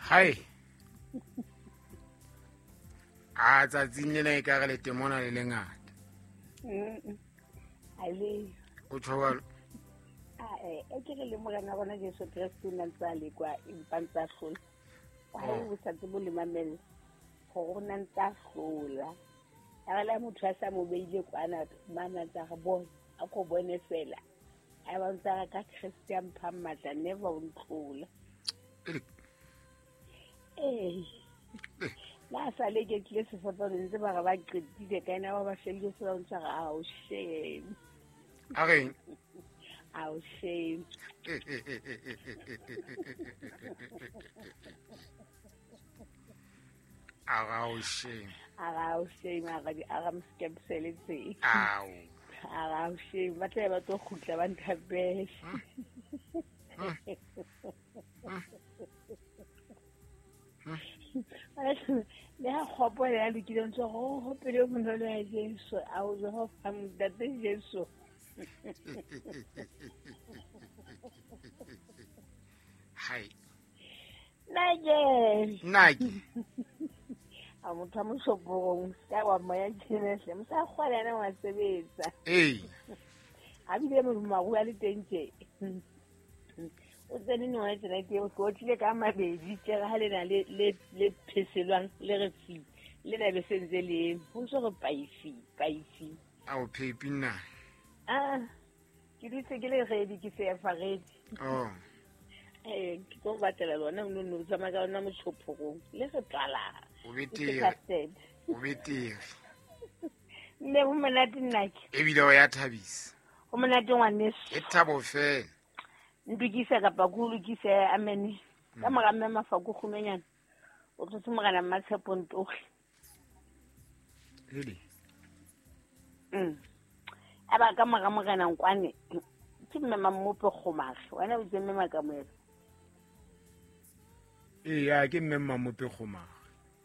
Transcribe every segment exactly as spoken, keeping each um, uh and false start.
Hai. A tsatsing lena e ka re letemona le lengata. A le. O tjho jwalo? A e ke re le morena rona Jesu Kreste o na ntse a lekwa empa ntse a hlola. Ha o sa tsebe le mamella gore o na ntse a hlola. A re le motho a sa mo beile kwana mana tsa re bone a ko bone fela. A ba ntse a re ka Kreste a mphang matla never o ntlola. Ee. La sa le ke tlile sefapanong ntse ba re ba qetile ka ena ba ba fedile se ba ntse re ao shame. A reng? Ao shame. Ao shame. Ao shame a re a re mskepsele tse. Ao. Ao shame ba tla ba tlo kgutla ba nthapele. Le ha kgopo ya lokile ntse go hopele bonolo ya Jesu a o Jehova Ntate Jesu. Hai. Nake. Nake. A motho a moshopong ka wa moya tjhelete mosa kgwala na wa sebetsa. Ee. A bile mo maru a le teng tje. O tsene no wa tsena ke o tlile ka mabedi tje ha le na le le le pheselwang le re fi le na be sentse le ho ntse re paisi paisi. A o phepi nna. Ah ke dutse ke le ready ke se fa ready. Oh. Eh ke tlo batlela lona no no tsamaya ka lona motshophong le re tlala. O betere. O betere. Nne ho monate nnake. Ebile o ya thabisa. Ho monate ngwaneso. E thabo fela. Ndukisa kapa ku lokise amen. Ka mora mme Mafako kgumenyana. O tlotse morena Mmatshepo Ntoge. Really? Mm. Aba ka mora morena Nkwane ke mme Mammope Kgomage. Wena o itse mme Makamoelo. Ee, ya ke mme Mammope Kgomage.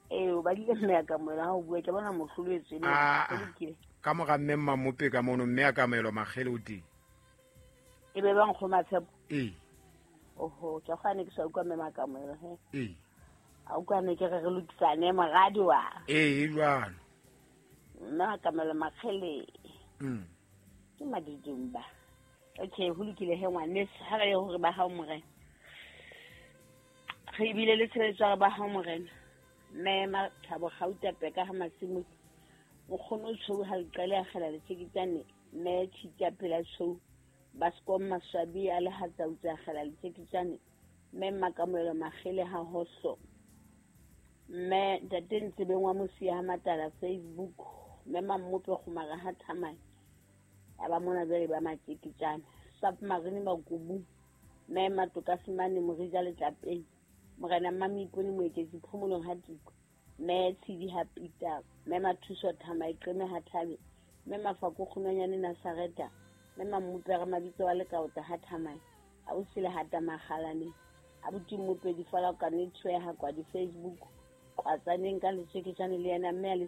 Ee, o badile mme Makamoelo ha o bua ke bona mohlolo etswe le. Ka mora mme Mammope ka mono mme Akamoelo Makgele o teng. E be ba nkgoma tshepo. Ee. Oho, ke kgane ke sa utlwa mme Makamoelo he. Ee. A utlwane ke re re lokisane moradi wa. Ee, e jwalo. Mme Makamoelo Makgele. Mm. Ke madidumba. Okay, ho lokile he ngwaneso ha re ye hore ba hao morena. Re bile le tshebetso ya ba hao morena. Mme Mathabo Gauta Peka ha Masimo. Mokgono o tshou ha leqele a kgela letjeketjane mme Tshitja pela tshou. Baskom Maswabi a le hatsautsa kgela letjeketjane mme Makamoelo Makgele ha hoso. Mme Ntate Ntsebeng wa Mosia ha Matala Facebook mme Mammope Kgomare ha Thamane. A ba mona jwale ba matjeketjane. Submarine Makubu mme Matoka Simane Morija Letlapeng. Morena Mmamipone Moeketsi Phomolong ha Tiko. Mme Tshidi ha Peter. Mme Mathuso Thama Iqeme ha Thabe. Mme Mafako Kgumenyane Nasareta. Mme Mammope re mabitso wa Lekaota ha Thamane. A o sile hata Makgalane. Abuti Mmope di fala ka ne tshwe ha kwa di Facebook. Kwatsaneng ka letjeketjane le yena mme a le